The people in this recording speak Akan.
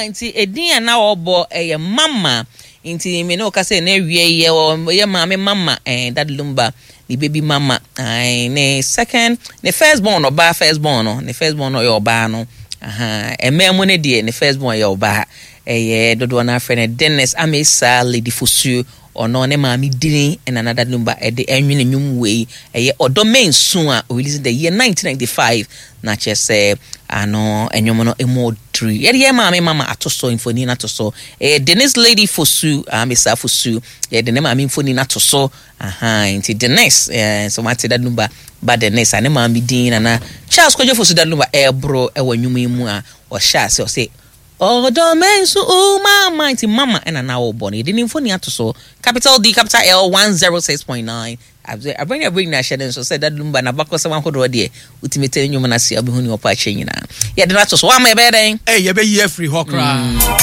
Nti edin a na ɔbɔ ɛyɛ Mama. Nti me ne wo kasa na awie yɛ yɛ maame Mama, Daddy Lumba ne baby mama, ne second, ne first born, ɔbaa first born no, ne first born no ɔyɛ ɔbaa no. Aha, mmaa mu no deɛ, ne first born yɛ ɔbaa. Ɛyɛ dodoɔ no afrɛ no Dennis Amesa Lady Fosuo. Ɔno ne maame dini ɛna na Daddy Lumba ɛde ɛnwene nnwom wei, ɛyɛ Ɔdɔ Mensu a ɔrelease the year 1995, na kyerɛ sɛ ano ɛnwom no emu ɔduru. Yɛde yɛ maame Mama ato so, mfoni no ato so. Ɛyɛ Dennis Lady Fosu Amesa Fosu, yɛde ne maame mfoni no ato so. Aha, nti Dennis, sɛ wate Daddy Lumba ba Dennis a, ne maame din Nana Charles Kwadwo Fosu Daddy Lumba ɛreboro ɛwɔ nnwom yi mu a ɔhyɛ ase ɔsɛ Ɔdɔ Mensu o mama, nti Mama ɛna na ɔbɔ no. Yɛde ne mfoni ato so. Capital D capital L 106.9. Abere ne abere nyinaa hyɛ ne nso sɛ Daddy Lumba n'abakɔsɛm ahodoɔ deɛ, wotumi te ne nnwom no ase a, wobɛhu ne ɔpɔ akyerɛ nyinaa. Yɛde no ato so, wama yɛbɛyɛ dɛn? Ɛ yɛbɛyi afiri hɔ koraa.